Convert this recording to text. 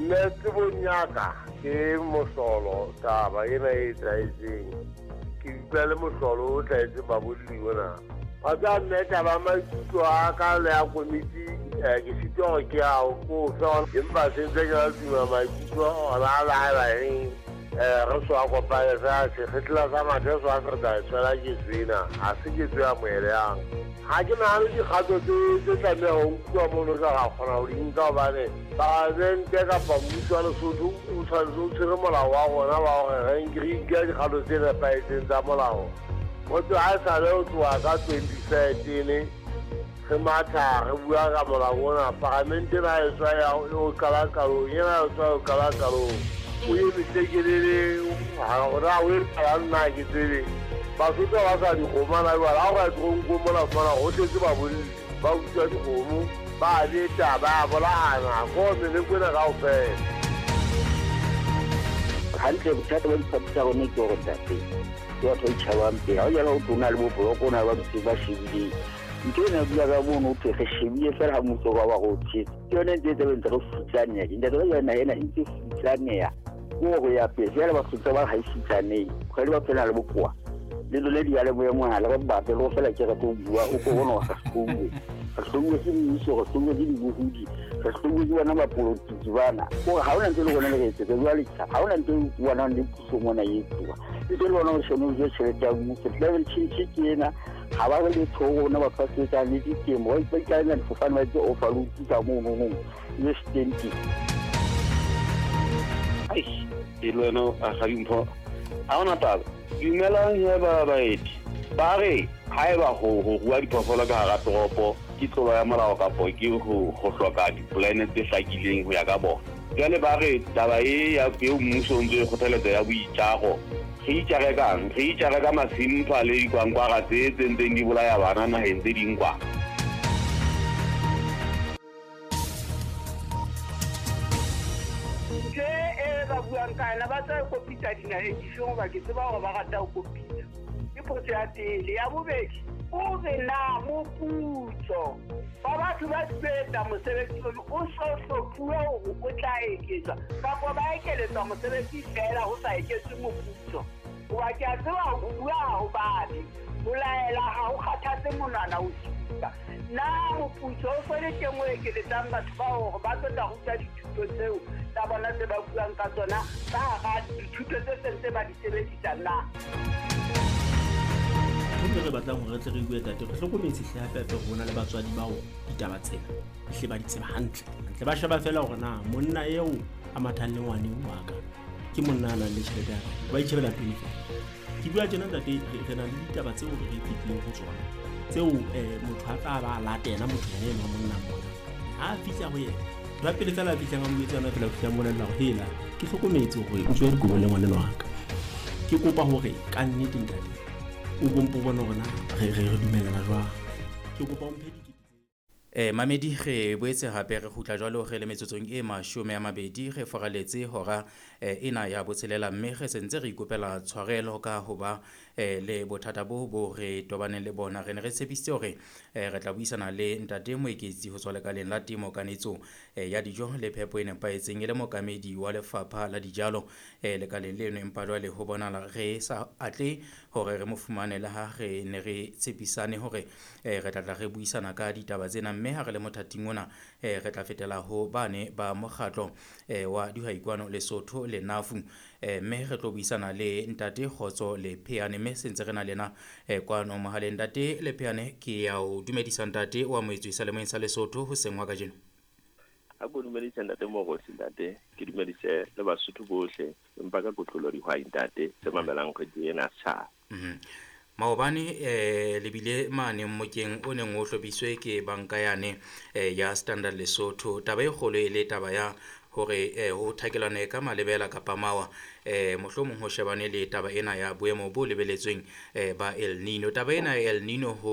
Nna tsebong ya ka ke mohlolo taba ena e etsahetseng. Ke utlwa le mohlolo o hlahetseng babolli ona. Wa tseba mme taba ya maikutlo a ka le ya komiti ke sitwa hore ke a ko fe empa se ntse ke la tuma maikutlo ona a le haeba eng re so a kopane fela sekgetla sa mathe so a se re tla e tshwela ketso ena ha se ketso e amohelehang. Ha ke nahane dikgato tse tlameha ho nkuwa mono ka ra kgona ho di nka hobane palamente kapa mmuso wa Lesotho o tshwanetse o tshwere molao wa rona wa hore re nke dikgato tse nepahetseng tsa molao. Ho tloha ha esale ho tloha ka 2013 re matha re bua ka molao ona, palamente ena e tswa ya o qala qalong, ena e tswa o qala qalong. O eme tlekelele hore o etsalang nna ha ke tsebe. Basotho ba sa dikgomo hana jwale, ha o ka ya toronkong mona o fumana ho tletse babolli ba utswa dikgomo, ba beta, ba bolayana, ko meleko ena kaofela. Hantle bothata ba diphathi tsa rona ke hore ntate ke batho ba itjhabang pele. Ha o jala ho tlo na le bo boloko, o na le ba dutseng ba shebileng. Ntho ena bua ka mono ho thwe re shebile fela ha mmuso wa ba re o tshetse. Ke yone ntse e tse ntse re futsaneha. Ntate ba jana ena e ntse futsaneha. Ke hore ya pele jwale Basotho ba ha e futsanehe. Kgwedi ba phela le bokowa. Le lone diyalemoya mohala ba batle le go fela ke re tlo bua o ko bona re hlouwe. Re hlouwe ke mmuso, re hlouwe ke dibohodi, re hlouwe ke bona bapolotiki bana. Kore ha hona ntho e le rona le re etsetsa jwale ha hona ntho e bonang le puso mona e etsuwa. E le bona o shone o je tjhelete ya mmuso. Climate change ke ena ha ba re letho ho rona batho ba sebetsang le ditemo ba ikaela difofane ba etse overload ka mono no le stenti. Ai, e le wena a ga dimpho ha ona taba. Dumelang he ba baeti. Ba re haeba ho rua diphoofolo ka hara toropo ke tlolo ya molao kapo ke ho hloka dipolane tse hlakileng ho ya ka bona. Jwale ba re taba e ya eo mmuso o ntso e kgothaletsa ya boitjaro. Re itjare kang? Re itjare ka masimpha le dikwankwara tse ntseng di bolaya bana naheng tse ding kwa. Ntho e ba buang ka yona ba tla kopitsa dinaheng difeng hoba ke tseba hore ba rata ho kopitsa. Ke potso ya pele. Ya bobedi, o re na moputso wa batho ba sebetsa mosebetsi ono o so hlophuwe hore o tla eketswa kapa ba ekeletswa mosebetsi fela ho sa eketswe moputso. Hoba ke a tseba ho bua ha ho babe, ho laela ha ho kgathatse monwana o supa. Na moputso o so le teng o ekeletsang batho bao hore ba tlo tla ruta dithuto tseo tsa bona tse ba buang ka tsona ka hara dithuto tse seng tse ba di sebedisa na? Ntho e re batlang hore re tle re bue tate, re hlokometse hle hape hape hore hona le batswadi bao ditaba tsena hle ba di tseba hantle. Hantle ba sheba fela hore na monna eo a mathang le ngwane wa ka ke monna a nang le tjhelete ya kae, ba itjhebela pele fela. Ke bua tjena ntate, re na le ditaba tseo re fetileng ho tsona tseo motho a tla ba latela motho yena enwa monna mona. Ha a fihla ho yena, ba pele fela a fihlang a mo etsa yona fela, o fihla mmolella hore hela ke hlokometse hore o tswe dikobo le ngwaneno wa ka. Ke kopa hore ka nnete ntate o bompo bone hore na re dumellana jwang. Ke kopa o mphe dikete. Mamedi re boetse hape re kgutla jwalo re le metsotsong e 20 re foraletse hora ena ya botshelela mme re sentse re ikopela tshwarelo ka hoba le bothata bo re tobaneng le bona. Re ne re tshepisitse hore re tla buisana le ntate Moeketsi ho tswa lekaleng la temo kanetso ya dijo le phepo e nepahetseng e le mookamedi wa lefapha la dijalo lekaleng leno, empa jwale ho bonahala re sa atle hore re mo fumane le ha re ne re tshepisane hore re tla re buisana ka ditaba tsena. Mme ha re le mothating ona re tla fetela ho bane ba mokgatlo wa dihwai kwano Lesotho le Nafu, mme re tlo buisana le ntate Kgotso Lepheane, mme sentse re na le yena kwano mohaleng. Ntate Lepheane, ke ya o dumedisa ntate wa moetswi sa lemoeng sa Lesotho hoseng wa kajeno. Ha ko dumedise ntate Morosi, ntate ke dumedise le Basotho bohle, empa ka kotlolo dihwai ntate tse mamelang kgwedi ena setjhaba. Maobane lebile mane mmokeng o neng o hlophiswe ke banka yane ya Standard Lesotho. Taba e kgolo e le taba ya hore ho thakelwane ka malebela kapa mawa mohlomong ho shebane le taba ena ya boemo bo lebeletsweng ba El Nino. Taba ena ya El Nino ho